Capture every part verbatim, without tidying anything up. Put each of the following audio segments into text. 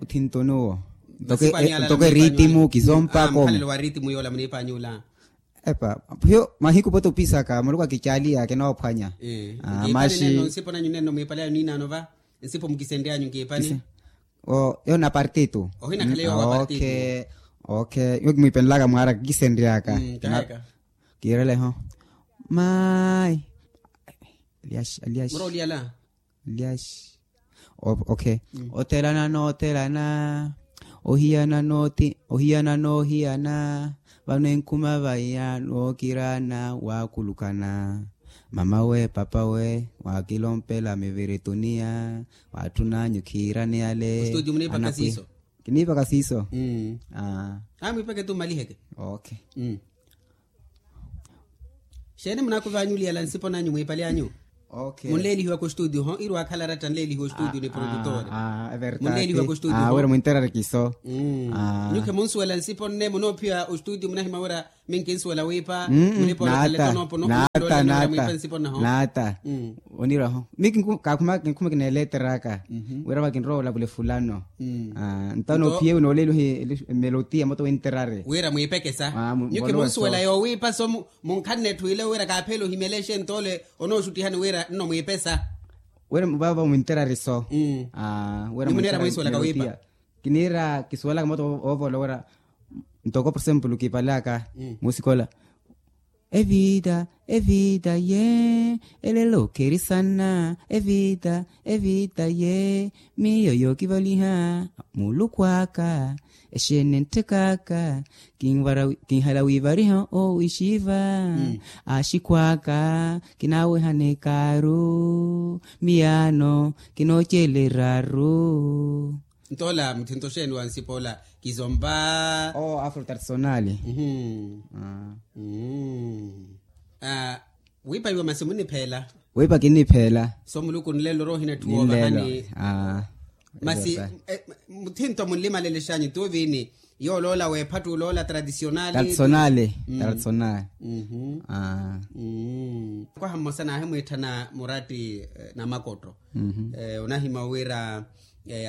Othinto nuwo. Ntoko eritimu kisompako. Mukhalelo wa ritimu yoola muniipanyu ola. Epa, hiyo mahiku pote opisaka muluku akicaliya kinoophwanya. Nkiipani nenno nsipo nanyu nenno mwiipale anyu niinaano va? Nsipo mukisenryanyu nkiipani. Yo na partitu. Ohina khale yo wa partitu. Okay. Yo kimwiipenlaka mwaara kisenryaka. Kiireleho. Mayi. Aliaxi aliaxi. Mura oliyala. Lyaxi. Okay. Othelana noothelana. Ohiyana noothi ohiyana noohiyana. Vano enkhuma vaiya nookirana waakulukana. Mamawe papawe waakilompela mivirituniya. Waatthunanyu khiirani yale. Kiniipaka siiso. Kiniipaka siiso. Aamwiipake tu mmaliheke. Okay. Xeeni munaakuvaanyuliyala nsipo nanyu mwiipale anyu? Munleelihiwaka ostudio ho iri waakhala aratta nleelihiwa ostudio ni produtor. Munleelihiwaka ostudio ho wira mwinterarikiso. Nyukhe munsuwela nsipo nne munoophiwa ostudio munahima wira minkinsuwela wiipa. Munipoolakhaletonopo nohulolenola mwiipa nsipo nnaho. Naata. Oniraho mi kaakhuma kineeleteraka. Wira vakinrowa olavula efulano. Ntawo noophiyewe nooleeliwa emelotia moto winterari wira mwiipekesa. Nyuke munsuwela yoowiipa so munkhanne etthu ile wira kaaphele ohimyela exentole onooxuttihani wira nno mwiipesa. Wira vavo mwinterari so. Wira munera mwiisuwelaka wiipa. Kiniira kisuwelaka moto oovoola wira ntoko por exemplo kiipalaka musikola. Evita evita ye elelo kherisana evita evita ye miyo yookivaliha muluku aka. Exeene ntthekaka kinhala wiivariha owixiva. Axikhwaka kinaawehana ekaaru miyaano kinooceleraru. Ntoola muthinto xeeni wa nsipa ola kizompa. Owo afro tradicionali. Wiipa iwe masi munipheela. Wiipa kinipheela. So muluku nlelo rohina etthu woovahani. Masi muthinto munlimalelexanyu tuuvini? Yooloola weephattu oloola tradicionali. Tradicionali. Tradicionali. Kwaha mmosa naahimwiitthana muratti namakotto. Onahima wira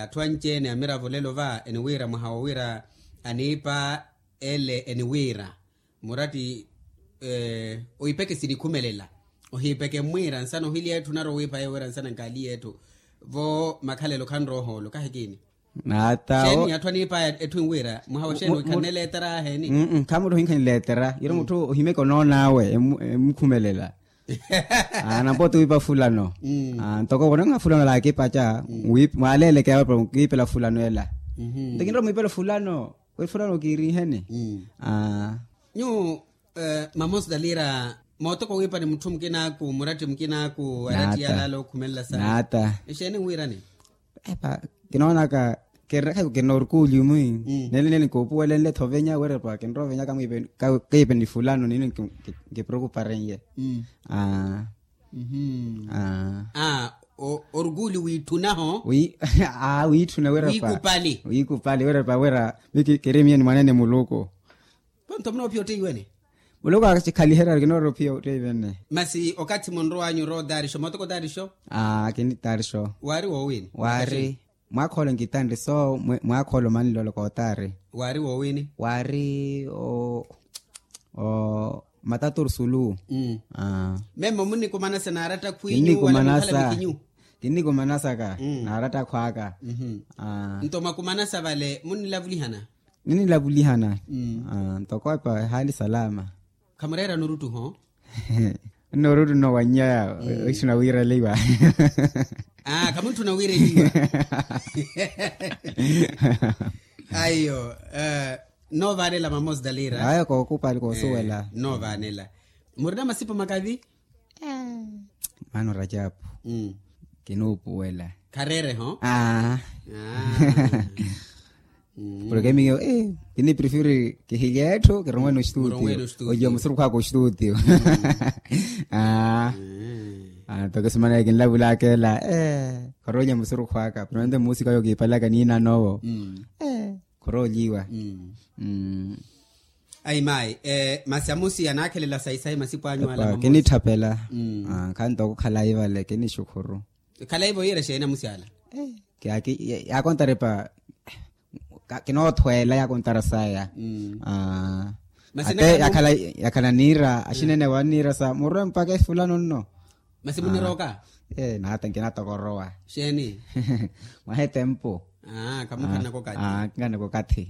atthu anci-ene amiravo lelo va eniwiira mwaha wowira aniipa ele eniwiira muratti oipeke sinikhumelela. Ohiipeke mmwiira nsana ohiliya etthu naro wiipa yeewira nsana nkaaliya etthu. Vo makhalelo khanrowa ohoolo kahikiini. Naata xeeni atthu aniipaya etthu enwiira mwaha wa xeeni wikhanneletera aheeni? Khamutthu hinkha niletera yiri mutthu ohimeke onoon'awe emukhumelela. Nampooti wiipa fulano. Ntoko wonanha fulano laakipaca mwaaleeleke awe para nkiipela fulano ela. Nto kinrowa mwiipela fulano wiri fulano kiiriheni. Nyuwo mama osidalira mootoka owiipa ni mutthu mukinaaku muratti mukinaaku aratti yalaala okhumelela saana. Naata. Exeeni nwiirani? Epa kinoonaka kerrekhaku kinoorukuuli mwi nene nene nkoopuwelenle thovenya werepa kinrovenyaka mwiipe kayipe ni fulano nini nkipreokuparenye. Aa. Orukuuli wiitthunaho. Aa wiitthuna werepa wiikupali. Wiikupali werepa wera mi kiri miyo ni mwanene muluku. Ponto munoophiya otteiwene. Muluku akikhaliherya kinoorowa ophiya otteiwene. Masi okathi munrow'anyu orowa otaarixo mootoko otaarixo. Aa kini taarixo. Waari woowini? Waari mwaakha ole nkitanri so mwaakha ole omanlelo kootaari. Waari woowini? Waari o o mataturusulu. Memo munnikumanasa naaratta khwiinyu wala munkhala mikinyu? Kinnikumanasaka naaratta akhw'aka. Nto mwakumanasa vale munnilavulihana? Ninnilavulihana. Ntoko epa ehaali salama. Khamureera nuruttuho? Nno oruttu nno wannyaya oixina wiireliwa. Khamuntthuna wiireliwa. Aiyo. Noovaanela mama osidalira ayo kookupali koosuwela. Noovaanela. Murina masipo makavi? Mano rajapu. Kinuupuwela. Khareereho? Aa. Porke miyo kiniprefiri kihilya etthu kirongwene ostudio. Ojiwa musurukhu aka ostudio. Aa. Ntoko simana kinlavulaka ela. Khoroolya musurukhu aka pronto muusika oyo kiipalaka niinanowo. Khoroolyiwa. Ayi mayi. Masi amusi anaakhelela sayi sayi masipo anyu ala mamosi? Kinitthapela. Khanto okukhala ayi vale kinixukhuru. Khalaivo yiira exeeni amusi ala? Yaakontari pa Kinoothweela yakuntara saya. Ate yakhala niira axinene wanniira sa murwe mpakha efulano nno. Masi munirooka? Nata nkinatokorowa. Xeeni? Mwaha etempu. Kamukhanaka okathi. Kamukhanaka okathi.